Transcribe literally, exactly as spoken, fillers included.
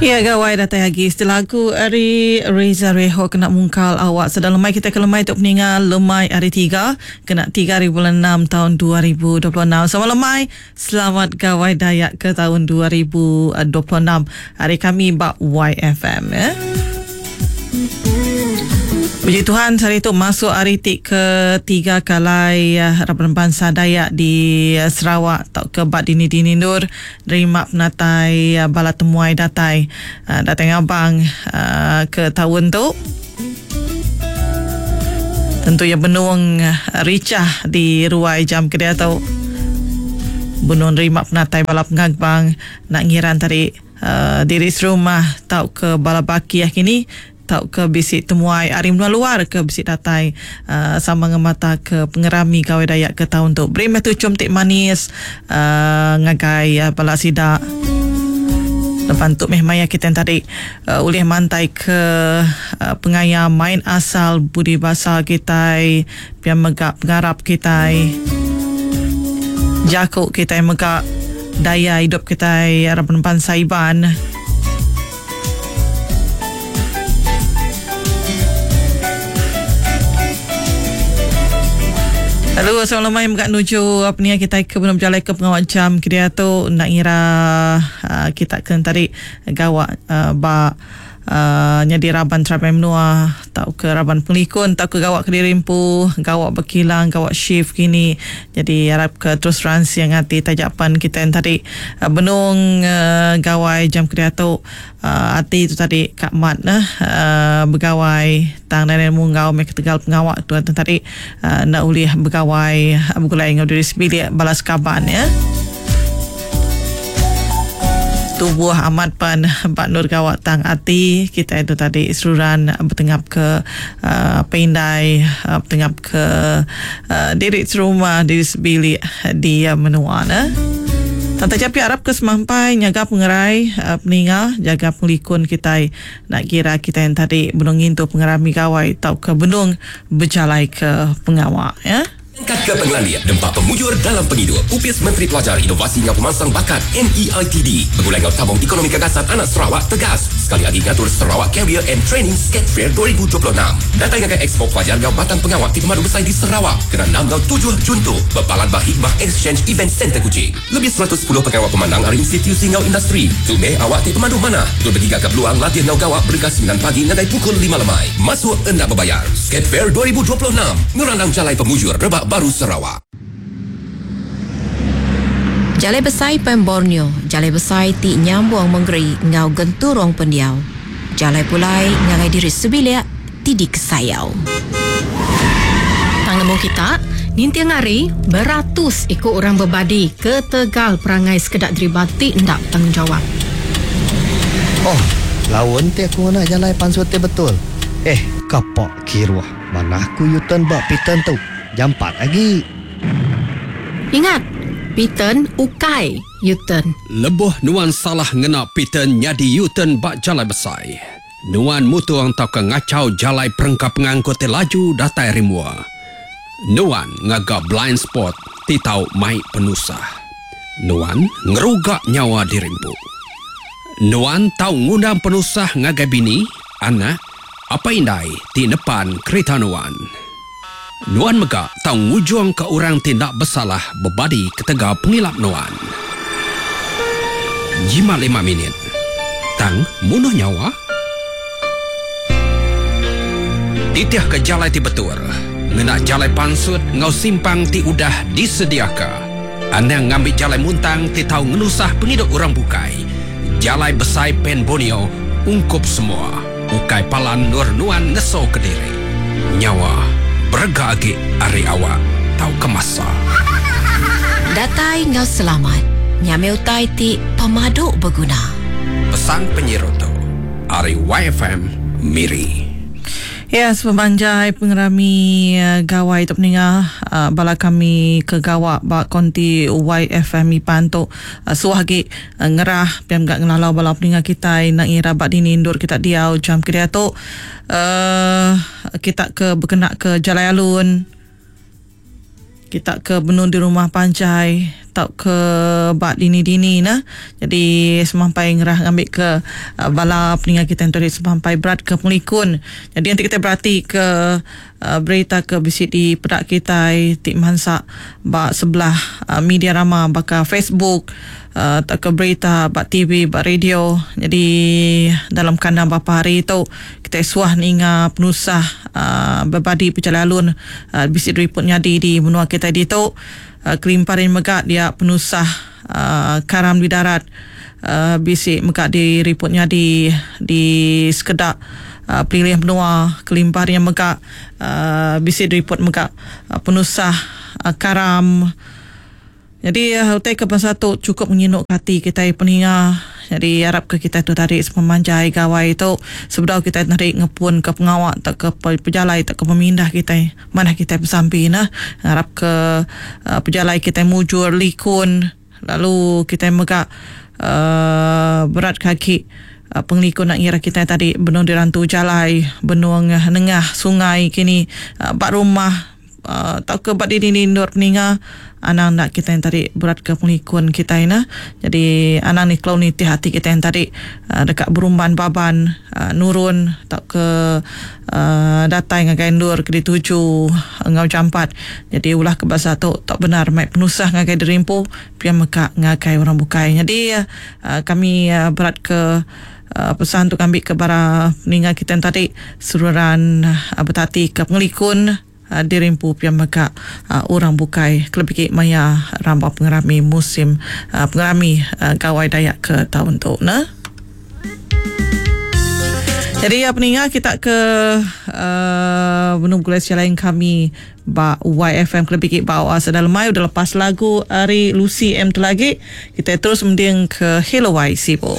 Ya, gawai datai lagi setelah aku ari Reza Reho kena mungkal awak sedang lemai kita ke lemai untuk meninggal lemai hari tiga kena tiga hari bulan enam tahun dua ribu dua puluh enam. Selamat lemai, selamat gawai Dayak ke tahun dua ribu dua puluh enam. Hari kami bak Y F M ya. Puji Tuhan, hari itu masuk hari ti ketiga kalai Raban Bangsa Dayak di Sarawak atau ke bak dini-dini nur nerima penatai bala temuai datai datai ngabang ke tahun tu. Tentu ya benung ricah di ruai jam ke dia tu. Benung nerima penatai bala pengabang nak ngiran tadi uh, diri serumah tau ke bala bakiah kini tau ke bisi temuai ari menua luar ke bisi datai uh, sama ngemata ke pengerami gawai Dayak ke tahun tu. Beri meh tucum tik manis uh, ngagai uh, bala sida. Lepas tu meh maya kita yang tadi uh, ulih mantai ke uh, pengaya main asal budi basa kita, pia megak pengarap kita, jakuk kita megak daya hidup kita harapan bangsa Iban. Lalu assalamualaikum kat nuju apa ni kita ke belum berjalan ke pengawal jam kita tu nak ngira uh, kita kena tarik gawak uh, ba uh, nyadi raban terabai menua tau ke raban pengelikun tau ke gawak ke diri empu gawak berkilang gawak shift kini. Jadi harap ke terus ransi yang hati tajapan kita yang tadi uh, benung uh, gawai jam kita tu uh, hati tu tadi Kak Mat nah uh, begawai tang dan munggau mek tegal pengawak tu tadi uh, nak ulih begawai begulai ngau diri sebilik balas kaban ya. Tubuh amat pan Pak Nur gawak tang ati kita itu tadi seruran bertengap ke uh, pindai uh, bertengap ke uh, diri serumah diri sebilik di uh, menua nah. Tante Japi harap ke semampai nyaga pengerai uh, peninga jaga pengelikun kita nak kira kita yang tadi benung ngintu pengerami gawai tau ke benung berjalai ke pengawak ya. Angkat ke pengelalian dempak pemujur dalam penghidup. Upis Menteri Pelajar Inovasi Ngau Pemansang Bakat N E I T D Begulai Ngau Tabung Ekonomi Gagasan Anak Sarawak Tegas. Sekali lagi ngatur Sarawak Career and Training Skate Fair dua ribu dua puluh enam. Datang ngagai Expo Pelajar Ngau Batang Pengawak di Pemadu Besar di Sarawak. Kena enam ngau tujuh Jun tu. Berpalan bah Hikmah Exchange Event Center Kuching. Lebih seratus sepuluh pengawak pemandang hari institusi ngau industri. Tu meh awak di Pemadu Mana. Tu bergiga ke peluang latih ngau gawak berkas sembilan pagi ngagai pukul lima lemai. Masuk endak berbayar. Skate Fair dua ribu dua puluh enam. Ngerandang jalai pemujur rebak baru Sarawak. Jalai Besai Pan Borneo, Jalai Besai ti nyambung menggeri ngau genturong pendiau. Jalai pulai ngagai diri sebilik ti dikesayau. Tang nemu kita, nintiang hari beratus ikut orang berbadi ke Tegal perangai sekedak dari batik ndak tanggungjawab. Oh, lawan ti aku nak jalai pansut ti betul. Eh, kapak kiruah. Mana aku U-turn bak pitan tu. Jam empat lagi. Ingat, Pitan ukai U-turn. Lebuh nuan salah ngena Pitan nyadi U-turn bak jalai besai. Nuan mutuang tau ke ngacau jalai perengka pengangkut ti laju datai rimua. Nuan ngaga blind spot ti tau mai penusah. Nuan ngerugak nyawa dirimpu. Nuan tau ngundang penusah ngagai bini, anak, apa indai ti nepan kereta nuan. Nuan mega tau ngujung ke orang tindak bersalah berbadi ketegal pengilap nuan. Jimat lima minit. Tang munuh nyawa. Titih ke jalai ti betul. Ngena jalai pansut ngau simpang ti udah disediaka. Anda ngambil jalai muntang ti tau ngenusah penghidup orang bukai. Jalai besai Pen Borneo ungkup semua. Ukai palan nur nuan ngeso ke diri. Nyawa berega agi ari awak tau kemasa. Datai ngau selamat. Nyame utai ti pemaduk berguna. Pesan penyiroto ari Y F M Miri. Ya, sepemanjai pengerami uh, gawai tu peningah uh, bala kami ke gawak bak konti Y F M Ipan tu uh, suah lagi uh, ngerah piam gak ngelalau bala peningah kita nak ngira bak dini indur kita diau jam kedia tu uh, kita ke berkenak ke Jalai Alun Kita ke benung di rumah panjai tau ke bak dini-dini nah. Jadi semampai ngerah ngambil ke uh, bala peningat kita yang tadi semampai berat ke pengelikun. Jadi nanti kita berhati ke uh, berita ke bisi di pedak kita ti mansak bak sebelah uh, media rama baka Facebook uh, tak ke berita bak T V bak radio. Jadi dalam kandang beberapa hari itu kita suah ninga penusah uh, berbadi pejalan alun uh, bisi report nyadi di benua kita di tu. Uh, kelimpahan megak dia penusah uh, karam di darat uh, bisi megak di report nyadi di sekedak uh, pilih benua. Kelimpahan yang megak uh, bisi report megak uh, penusah uh, karam. Jadi uh, utai ke pasal tu cukup menginuk hati kita peninga. Jadi harap ke kita tu tadi sepemanjai gawai itu sebelum kita narik ngepun ke pengawak tak ke pejalai tak ke pemindah kita mana kita bersampi nah. Harap ke uh, pejalai kita mujur likun lalu kita megak uh, berat kaki uh, pengelikun nak ngira kita tadi benung dirantu jalai benung nengah sungai kini uh, bak rumah Uh, tak ke bak dini nur peninga anang nak kita yang tadi berat ke pengelikun kita ina. Jadi anang ni kalau ni hati kita yang tadi uh, dekat berumban baban uh, nurun tak ke uh, datang ngagai nur ke dituju ngau jampat. Jadi ulah ke bahasa tu tak benar mai penusah ngagai derimpu pian mekak ngagai orang bukai. Jadi uh, kami uh, berat ke Uh, pesan untuk ambil ke bara peninga kita yang tadi seruran uh, bertati ke pengelikun uh, dirimpu pian mekak uh, orang bukai kelebih maya rambau pengerami musim uh, pengerami uh, gawai Dayak ke tahun tu nah. Jadi ya peninga kita ke uh, menunggu gulai lain kami ba Y F M kelebih bawa sedalam mai udah lepas lagu ari Lucy M tu lagi kita terus mending ke Hello Y Sibo.